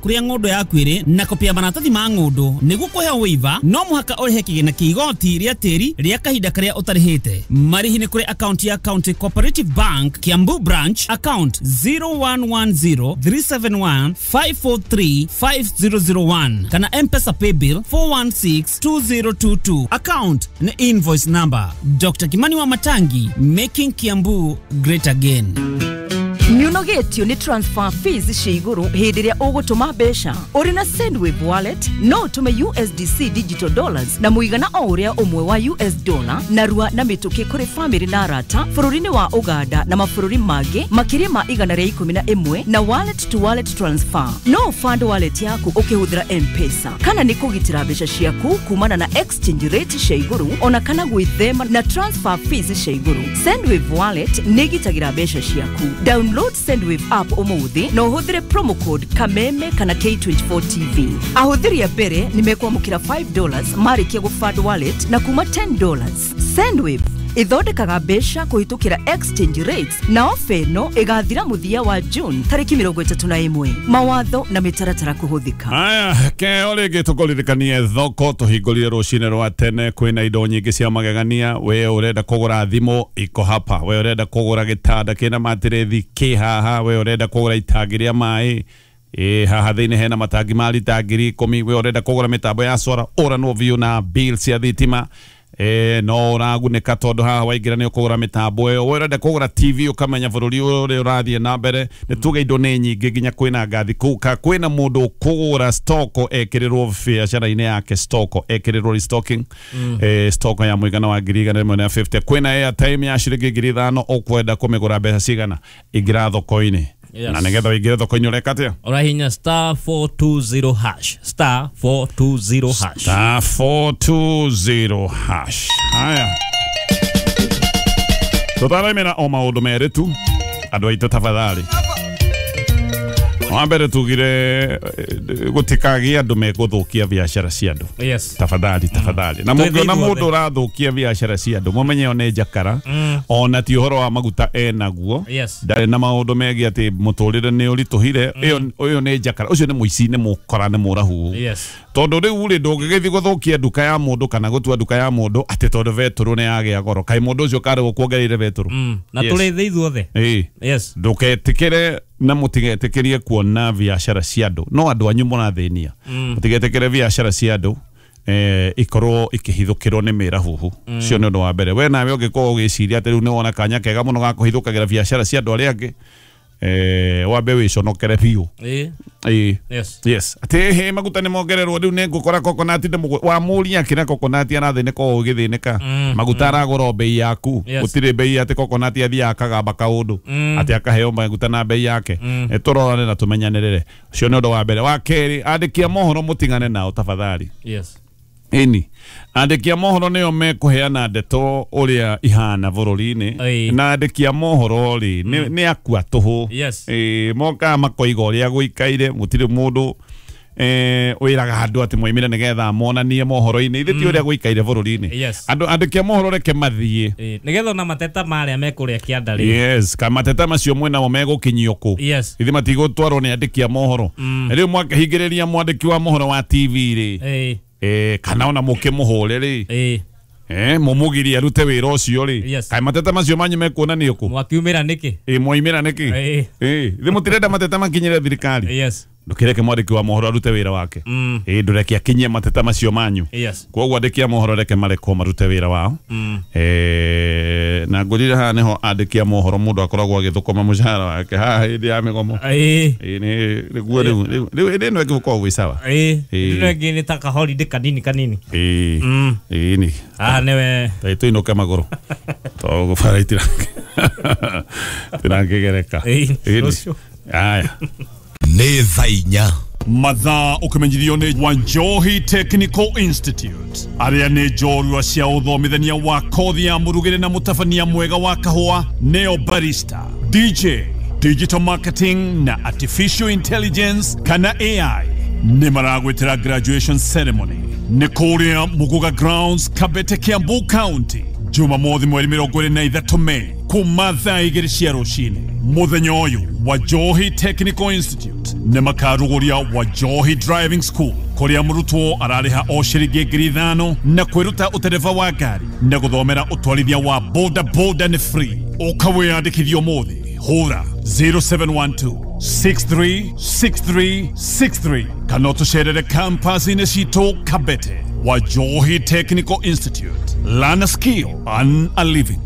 kũrĩa ng'ũndũ yaku ĩrĩ na kopi ya maratathi ma ng'ũndũ. Nĩguo kũheo waiver no mũhaka ũrĩhe kĩgĩna kĩa igoti rĩa tĩri rĩa kahinda karĩa ũtarĩhĩte. Marĩhi nĩ kũrĩ akaunti ya County Cooperative Bank Kiambu Branch, account 0110 371 543 5001 kana M-Pesa paybill 416 2022, account ni invoice number. Dr. Kimani wa Matangi, making Kiambu great again. Nĩũnogetio nĩ transfer fees cia igũrũ hĩndĩ ĩrĩa ũgũtũma mbeca? Ũrĩ na Sendwave Wallet no ũtũme USDC digital dollars na mũigana o ũrĩa ũmwe wa US dollar narua na mĩtũkĩ kũrĩ famĩlĩ na arata bũrũri-inĩ wa Uganda na mabũrũri mangĩ makĩria ma 111 na wallet to wallet transfer. No ũfund wallet yaku ũkĩhũthĩra M-Pesa kana nĩ kũgitĩra mbeca ciaku kumana na exchange rate cia igũrũ ona kana gwĩthema na transfer fees cia igũrũ. Sendwave Wallet nĩ ĩgitagĩra mbeca ciaku. Download Sendwave app ũmũthĩ na ũhũthĩre promo code Kameme kana K24 TV. Ahũthĩri a mbere nĩ mekwamũkĩra $5 marĩkia gũfund wallet na kuma $10. Sendwave ĩthondekaga mbeca kũhĩtũkĩra exchange rates na ofa ĩno ĩgathira mũthia wa June tarĩki 31. Mawatho na mĩtaratara kũhũthĩka. Aya, keo rĩngĩ tũkũririkanie thoko tũhingũrire rũcinĩ rwa tene. Kwĩna indo nyingĩ cia magegania. We ũrenda kũgũra thimũ, iko hapa. We ũrenda kũgũra gĩtanda kĩna matirethi, kĩ haha. We ũrenda kũgũra itangi rĩa maĩ, ĩ haha thĩinĩ hena matangi ma rita 10,000. We ũrenda kũgũra mĩtambo ya solar, ũranwo biũ na bill cia thitima, no ũragunĩka tondũ haha waingĩra nĩ ũkũgũra mĩtambo ĩyo. We ũrenda kũgũra TV ũkamenya bũrũri ũrĩa ũrathiĩ na mbere, nĩ tuge indo nĩ nyingĩ, nginya kwĩna ngathi kũu ka kwĩna mũndũ ũkũgũra stoko ekĩrĩrwo biacara-inĩ yake, stoko ekĩrĩrwo restocking, stoko ya mũigana wa 150,000. Kwĩna airtime ya ciringi 5,000. Ũkwenda kũmĩgũra mbeca cigana? Ingĩra thoko-inĩ. Na nĩgetha ũingĩre thoko-inĩ ũreka atĩa? Ũrahinya *420#, *420#. *420#. Haya, tũtaraimĩra o maũndũ merĩ tu, andũ aitũ, tafadhali. Wa mbere tugire gũtikagĩe andũ megũthũkia biacara cia andũ. Tafadhali, tafadhali. Na Twĩthĩ mũngĩona ithuothe. mũndũ ũrathũkia biacara cia andũ, mũmenye o nĩ njakara, ona ti ũhoro wa maguta enaguo. Ndarĩ na maũndũ megiĩ atĩ mũtũrĩre nĩ ũritũhire. Ĩyo ũyũ nĩ njakara, ũcio nĩ mũici, nĩ mũkora, nĩ mũrahu. Tondũ rĩu rĩ, ndũngĩgĩthiĩ gũthũkia nduka ya mũndũ kana gũtua nduka ya mũndũ atĩ tondũ betũrũ nĩ yagĩa goro. Kaĩ mũndũ ũcio karĩ gũkuongereire betũrũ? Na tũrĩ thĩ ithuothe. Ndũgetĩkĩre na mũtigetĩkĩrie kuona biacara cia andũ, no andũ anyu mũrathĩnia. Mũtigetĩkĩre biacara cia andũ ikorwo ikĩhithũkĩrwo nĩ mĩrahuhu. Ũcio nĩ ũndũ wa mbere. We nawe ũngĩkorwo ũgĩciria atĩ rĩu nĩ wona kanya kega mũno ga kũhithũkagĩra biacara cia andũ arĩa angĩ, wambe wĩconokere biũ. Ĩĩ. Yes, atĩ he maguta nĩ mongererwo, rĩu nĩ ngũkora coconut nĩ wamũria kĩrĩa coconut arathĩnĩka o ũgĩthĩnĩka. Maguta aragũra o bei yaku. Gũtirĩ bei atĩ coconut athiaga akagamba kaũndũ atĩ akaheo maguta na bei yake. Tũrorane na tũmenyanĩrĩre. Ũcio nĩ ũndũ wa mbere. Wa kerĩ, andĩki a mohoro mũtigane nao tafadhali. Ĩni andĩki a mohoro nĩo mekũheana ndeto ũrĩa ihana bũrũri-inĩ. Na andĩki a mohoro rĩ, nĩ akua tũhũ. Ĩĩ, mokaga makoiga ũrĩa gũikaire. Gũtirĩ mũndũ wĩraga andũ atĩ moimire nĩgetha monanie mohoro-inĩ. Ithe ti ũrĩa gũikaire bũrũri-inĩ. Andũ andĩki a mohoro reke mathiĩ. Nĩgetha ona mateta marĩa mekũrĩa kĩanda rĩ. Yes, kamateta macio mwĩnamo megũkinyio kũ? Ithe matigũtwarwo nĩ andĩki a mohoro. Rĩu mwakĩhingĩrĩria mwandĩki wa mohoro wa TV rĩ, kana ona mũkĩmũhũre rĩ, mũmũgirie arute wĩra ũcio rĩ, kaĩ mateta macio manyu mekuonanio kũ? Mwakiumĩra nĩkĩ? Ĩ, mwaimĩra nĩkĩ? Ĩ ithe mũtirenda mateta makinyĩre thirikari? Ndũkĩreke mwandĩki wa mohoro arute wĩra wake. Ĩ, ndũreke akinyie mateta macio manyu. Koguo andĩki a mohoro reke marekwo marute wĩra wao. Na ngũrire haha nĩho andĩki a mohoro mũndũ akoragwo agĩthũkũma mũcara wake haha hĩndĩ ya mĩgomo. Ĩ, nĩ nĩguo rĩu hĩndĩ ĩno ĩngĩ gũkoragwo gwĩ sawa. Ĩno ĩngĩ nĩ ta kaholiday kanini kanini. Ĩ. Ĩ nĩ Haha nĩwe. Ta tũinũke magũrũ tondũ bara itirakĩgereka. Ĩĩ, rũciũ. Aya. Nĩ thaa 4. Mathaa ũkĩmenyithio nĩ Wanjohi Technical Institute, arĩa nĩ njorua cia ũthomithania wa kothi ya mũrugĩre na mũtabania mwega wa kahũa, neo barista, DJ, digital marketing na artificial intelligence kana AI, nĩ maragwĩtĩra graduation ceremony nĩ kũrĩa Muguga Grounds, Kabete, Kiambu County, Jumamothi mweri 23 Mei. kuma thaa 2 cia rũcinĩ. Mũthenya ũyũ Wajohi Technical Institute nĩ makarugũria Wajohi Driving School kũrĩa mũrutwo ararĩha o ciringi 5,000 na kwĩruta ũtereba wa ngari na gũthomera ũtwarithia wa boda boda nĩ free. Ũka wĩyandĩkithie ũmũthĩ, hũra 0712 636363 kana ũtũcerere campus-inĩ citũ Kabete. Wajohi Technical Institute, learn a skill, earn a living.